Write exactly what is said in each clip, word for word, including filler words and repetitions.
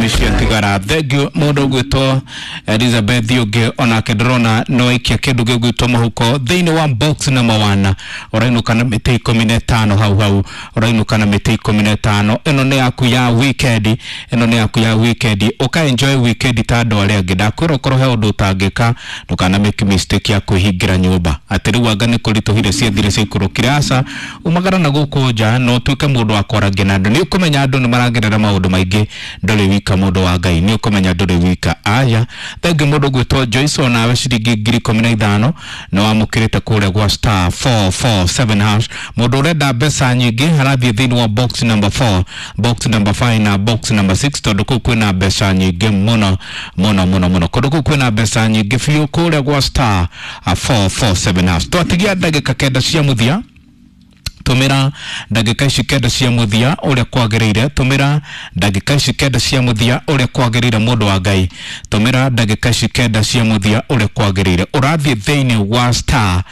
ikumi ciatigara. Thank you mundu ugwitwo Elizabeth ungi onake ndirona no aikia kindu gigwitwo muhuko thiini wa box number one, urainuka na miti ikumi na ĩtano hau hau, urainuka na miti ikumi na ĩtano. Ĩno nĩ yaku ya weekend, ĩno nĩ yaku ya weekend, uka enjoy weekend ta andũ arĩa angĩ. Ndakwĩra ũkorwo he ũndũ ũtangĩka, ndũkana make mistake ya kwĩhingĩra nyũmba atĩ rĩu anga nĩ kũritũhire ciathire ciaikũrũkire. Aca, umagara na gũkũ nja na ũtuĩke mũndũ wa kwarangia na andũ. Nĩ ũkũmenya andũ nĩ maragerera maũndũ maingĩ, ndũrĩ wika, mũndũ wa Ngai, nĩ ũkũmenya ndũrĩ wika. Aya, thengi mũndũ gwĩtwo Joyce, onawe ciringi ngiri ikũmi na ithano nĩ wamũkĩrĩte kũrĩa gwa star four four seven hash. Mũndũ ũrenda mbeca nyingĩ arathiĩ thĩinĩ wa box number four, box number five na box number six, tondũ kũu kwĩna mbeca nyingĩ mũno mũno mũno mũno. Kũndũ kũu kwĩna mbeca nyingĩ biũ kũrĩa gwa star four four seven hash. Twatigia ndagĩka kenda cia mũthia. Tumira ndagĩka ici kenda cia mũthia ũrĩa kwagĩrĩire, tumira ndagĩka ici kenda cia mũthia ũrĩa kwagĩrĩire, mũndũ wa Ngai, tumira ndagĩka ici kenda cia mũthia ũrĩa kwagĩrĩire. Ũrathiĩ thĩinĩ wa star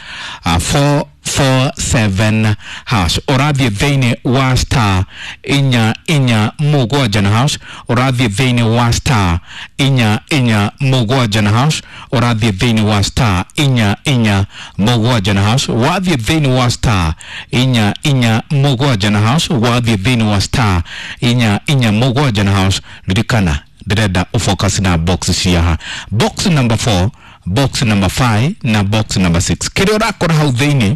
four four seven hash, ũrathiĩ thĩinĩ wa star inya inya mũgwanja na hash, ũrathiĩ thĩinĩ wa star inya inya mũgwanja na hash, ũrathiĩ thĩinĩ wa star inya inya mũgwanja na hash, wathiĩ thĩinĩ wa star inya inya mũgwanja na hash, wathiĩ thĩinĩ wa star inya inya mũgwanja na hash. Ririkana ndĩrenda ũfocus na box ciaha, box number four, box number five na box number six. Kĩrĩa ũrakora hau thĩinĩ,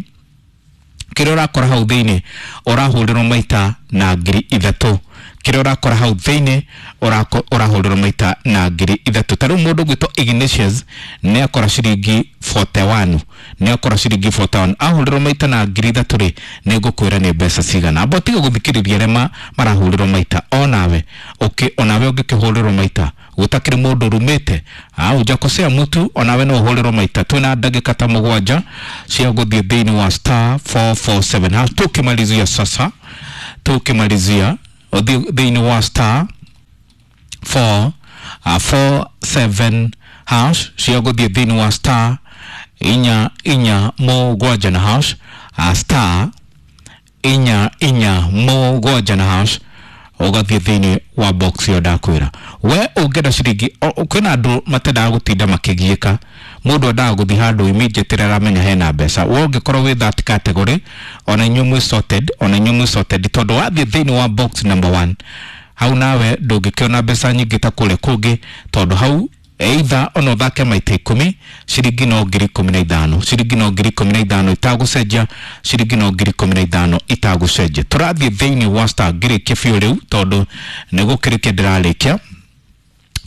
kĩrĩa ũrakora hau thĩinĩ, ũrahũrĩrwo maita na ngiri ithatũ. Kĩrĩa ũrakora hau thĩinĩ, ũrahũrĩrwo maita na ngiri ithatũ. Ta rĩu mũndũ ũgwĩtwo Ignatius nĩ akora ciringi mĩrongo ĩnana na ĩmwe, nĩ akora ciringi mĩrongo ĩnana na ĩmwe. Ahũrĩrwo maita na ngiri ithatũ rĩ, nĩ ngũkwĩra nĩ mbeca cigana. Amba ũtige gũthikĩrĩria arĩa marahũrĩrwo maita, onawe ũkĩ onawe ũngĩkĩhũrĩrwo maita gũtakĩrĩ mũndũ ũrumĩte hujakosea mtu, onawe no ũhũrĩrwo maita. Twĩna ndagĩka ta mũgwanja cia gũthiĩ thĩinĩ wa star four four seven hash. Tukimalizia sasa, tukimalizia ũthiĩ thĩinĩ wa star four four seven hash cia gũthiĩ thĩinĩ wa star inya inya mũgwanja na hash, uh, star inya inya mũgwanja na hash, ũgathiĩ thĩinĩ wa box ĩyo ndakwĩra. We ũngĩenda ciringi, kwĩna andũ matendaga gũtinda makĩgiĩka, mũndũ endaga gũthiĩ handũ immediately aramenya hena mbeca. We ũngĩkorwo wĩ that category, ona inyuĩ mwĩ sorted, ona inyuĩ mwĩ sorted, tondũ wathiĩ thĩinĩ wa box number one hau nawe ndũngĩkĩona mbeca nyingĩ ta kũrĩa kũngĩ, tondũ hau either ona ũthake maita ikũmi, ciringi no ngiri ikũmi na ithano, ciringi no ngiri ikũmi na ithano itagũcenjia, ciringi no ngiri ikũmi na ithano itagũcenjia. Tũrathiĩ thĩinĩ wa star, ngĩrĩkia biũ rĩu tondũ nĩ gũkĩrĩkia ndĩrarĩkia.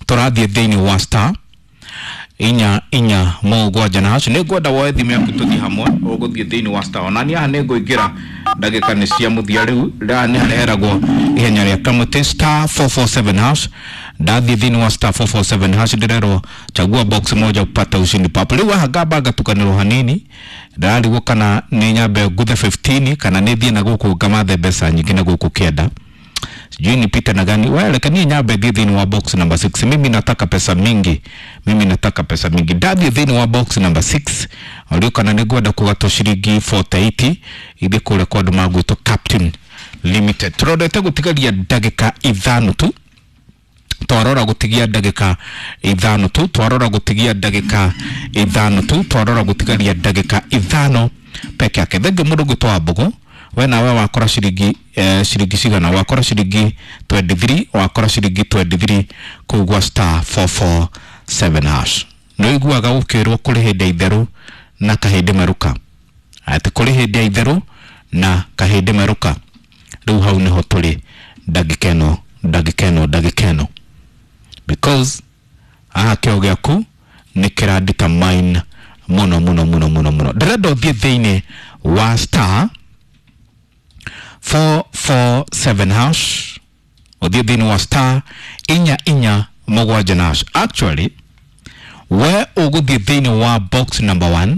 Tũrathiĩ thĩinĩ wa star inya inya mũgwanja na hacu. Nĩ ngwenda woe thimũ yaku tũthiĩ hamwe. Ũgũthiĩ thĩinĩ wa star, onani haha nĩ ngũingĩra ndagĩka nĩ cia mũthia rĩu. Haha nĩ hareheragwo ihenya rĩa kamũtĩ star four four seven hash. Ndathiĩ thĩinĩ wa star four four seven hash, ndĩrerwo chagua box moja upate ushindi papo. Rĩu haha ngamba ngatukanĩrwo hanini, ndĩrarigwo kana nĩ nyambe nguthe fifteen kana nĩ thiĩ na gũkũ ngamathe mbeca nyingĩ na gũkũ kĩenda, sijui nipite na gani. Wewe, reke niĩ nyambe thiĩ thĩinĩ wa box number six. Mimi nataka pesa mingi, mimi nataka pesa mingi. Ndathiĩ thĩinĩ wa box number six, ũrio kana nĩ ngwenda kũgatwo ciringi mĩrongo ĩnane na nanyana ithiĩ kũrĩa kwa andũ magwĩtwo Captain Limited. Tũrondete gũtigaria ndagĩka ithano tu, twarora gũtigia ndagĩka ithano tu, twarora gũtigia ndagĩka ithano tu, twarora gũtigaria ndagĩka ithano peke yake. Thengi mũndũ gwĩtwo Wambũgũ, we nawe wakora ciringi eh, ciringi cigana? Wakora ciringi mĩrongo ĩĩrĩ na ithatũ, wakora ciringi mĩrongo ĩĩrĩ na ithatũ kũu gwa star four four seven hash. Nĩ ũiguaga gũkĩrwo kũrĩ hĩndĩ ya itherũ na kahĩndĩ merũka, atĩ kũrĩ hĩndĩ ya itherũ na kahĩndĩ merũka. Rĩu hau nĩho tũrĩ ndagĩka ĩno, ndagĩka ĩno, ndagĩka ĩno, because haha kĩo gĩaku nĩ kĩra determine mũno mũno mũno mũno mũno. Ndĩrenda ũthiĩ thĩinĩ wa star four four seven hash, ũthiĩ thĩinĩ wa star inya inya mũgwanja na hash. Actually, we ũgũthiĩ thĩinĩ wa box number one,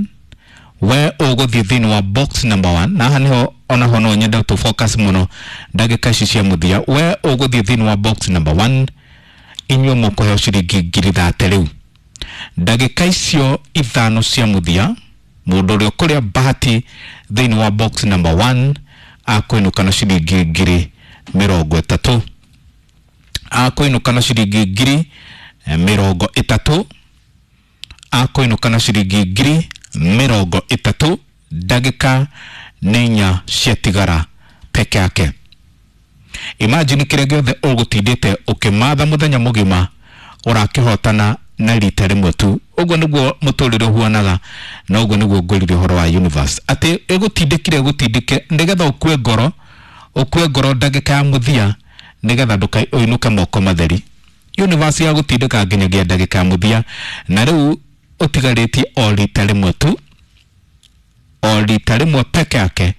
we ũgũthiĩ thĩinĩ wa box number one, na haha nĩho onaho no nyende tũ focus mũno ndagĩka ici cia mũthia. We ũgũthiĩ thĩinĩ wa box number one, inyuĩ mũkũheo ciringi ngiri thate. Rĩu ndagĩka icio ithano cia mũthia, mũndũ ũrĩa ũkũrĩa bahati thĩinĩ wa box number one akũinũka na ciringi ngiri mĩrongo ĩtatũ. Akũinũka na ciringi ngiri mĩrongo ĩtatũ. Akũinũka na ciringi ngiri mĩrongo ĩtatũ ndagĩka nĩ inya ciatigara peke yake. Imagine kĩrĩa gĩothe ũgũtindĩte ũkĩmatha mũthenya mũgima ũrakĩhotana na rita rĩmwe tu. Ũguo nĩguo mũtũrĩre ũhuanaga na ũguo nĩguo ngwĩrire ũhoro wa universe atĩ ĩgũtindĩkire ĩgũtindĩke nĩgetha ũkue ngoro, ũkue ngoro ndagĩka ya mũthia nĩgetha ndũkainũke moko matheri. Universe ya gũtindĩka nginyagia ndagĩka ya mũthia na rĩu ũtigarĩtie o rita rĩmwe tu, o rita rĩmwe peke yake,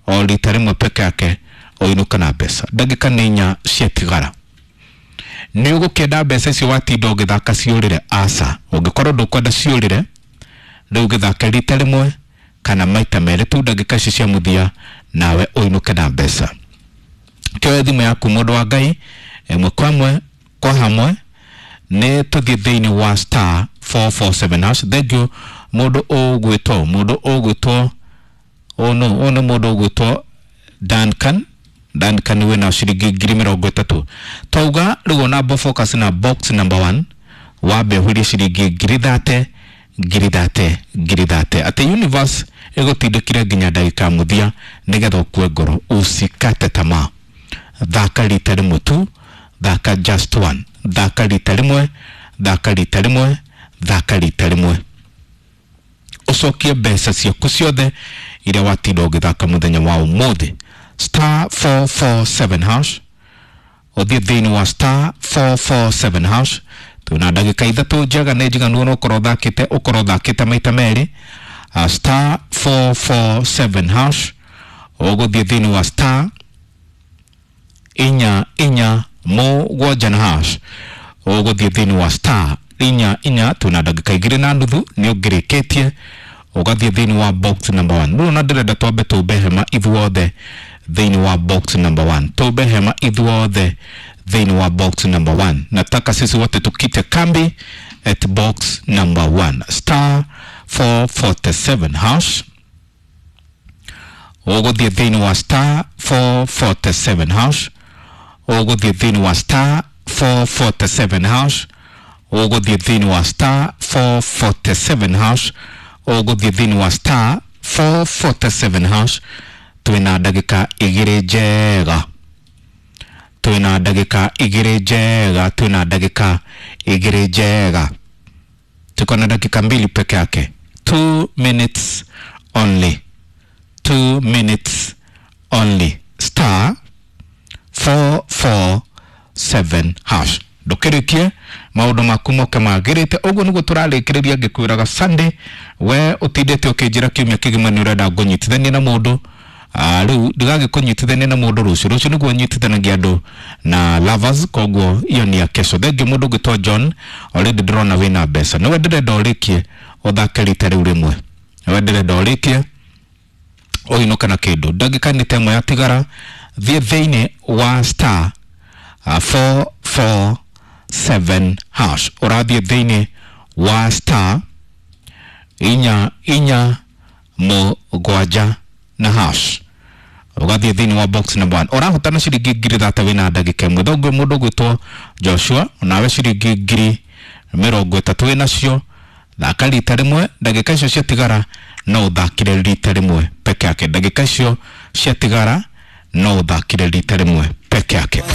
o rita rĩmwe peke yake ũinũke na mbeca. Ndagĩka nĩ inya ciatigara. Nĩ ũgũkĩenda mbeca icio watinda ũgĩthaka ciũrĩre? Aca. Ũngĩkorwo ndũkwenda ciũrĩre rĩu gĩthake rita rĩmwe kana maita merĩ tu ndagĩka ici cia mũthia nawe ũinũke na mbeca. Kĩoe thimũ yaku mũndũ wa Ngai, ĩmwe kwa ĩmwe kwa hamwe nĩ tũthiĩ thĩinĩ wa star four four seven hash. Thank you mũndũ ũgwĩtwo, mũndũ ũgwĩtwo ũyũ nũ? Ũyũ nĩ mũndũ ũgwĩtwo Duncan. Duncan wĩna ciringi ngiri mĩrongo ĩtatũ. Twauga rĩu ona bo focus na box number one wambe ũhũrie ciringi ngiri thate, ngiri thate, ngiri thate. Atĩ universe ĩgũtindĩkire nginya ndagĩka ya mũthia nĩgetha ũkue ngoro, usikate tamaa. Thaka rita rĩmwe tu, thaka just one, thaka rita rĩmwe, thaka rita rĩmwe, thaka rita rĩmwe, ũcokie mbeca ciaku ciothe iria watinda ũgĩthaka mũthenya wa ũmũthĩ. Star four four seven hash, ũthiĩ thĩinĩ wa star four four seven hash. Twĩna ndagĩka ithatũ njega nĩ njiganu ona ũkorwo ũthakĩte, ũkorwo ũthakĩte maita merĩ. Uh, star four four seven hash, ũgũthiĩ thĩinĩ wa star inya inya mũgwanja na hash, ũgũthiĩ thĩinĩ wa star inya inya. Twĩna ndagĩka igĩrĩ na nuthu nĩ ũngĩrĩkĩtie, ũgathiĩ thĩinĩ wa box number one. Rĩu ona ndĩrenda twambe tũmbe hema ithuothe thĩinĩ wa box number one, tũmbe hema ithuothe thĩinĩ wa box number one. Nataka sisi wote tukite kambi at box number one, star four forty-seven hash. Ũgũthiĩ thĩinĩ wa star four forty-seven hash, ũgũthiĩ thĩinĩ wa star four forty-seven hash, ũgũthiĩ thĩinĩ wa star four forty-seven hash, ũgũthiĩ thĩinĩ wa star four forty-seven hash. Twĩna ndagĩka igĩrĩ njega, twĩna ndagĩka igĩrĩ njega, twĩna ndagĩka igĩrĩ njega. Tuko na dakika mbili peke yake, two minutes only, two minutes only. Star four four seven hash. Ndũkĩrĩkie maũndũ maku moke magĩrĩte. Ũguo nĩguo tũrarĩkĩrĩria ngĩkwĩraga Sunday, we ũtindĩte ũkĩnjĩra kiumia kĩgima nĩ ũrenda ngũnyitithanie na mũndũ. Ah, rĩu ndigagĩkũnyitithania na mũndũ rũciũ, rũciũ nĩguo nyitithanagia andũ na lovers, koguo iyo ni ya kesho. Thengiũ mũndũ ũngĩtwo John, already ndĩrona wĩna mbeca, nĩwe ndĩrenda ũrĩkie ũthake rita rĩu rĩmwe, nĩwe ndĩrenda ũrĩkie ũinũke na kĩndũ. Ndagĩka nĩ ta ĩmwe yatigara, thiĩ thĩinĩ wa star four four seven hash, ũrathiĩ thĩinĩ wa star inya inya mũgwanja na hash, ũgathiĩ thĩinĩ wa box number one. Ũrahotana ciringi ngiri thate wĩna ndagĩka ĩmwe. Thongwe mũndũ ũgwĩtwo Joshua, onawe ciringi ngiri mĩrongo ĩtatũ wĩnacio. Thaka rita rĩmwe, ndagĩka icio ciatigara no ũthakire rita rĩmwe peke yake. Ndagĩka icio ciatigara no ũthakire rita rĩmwe peke yake.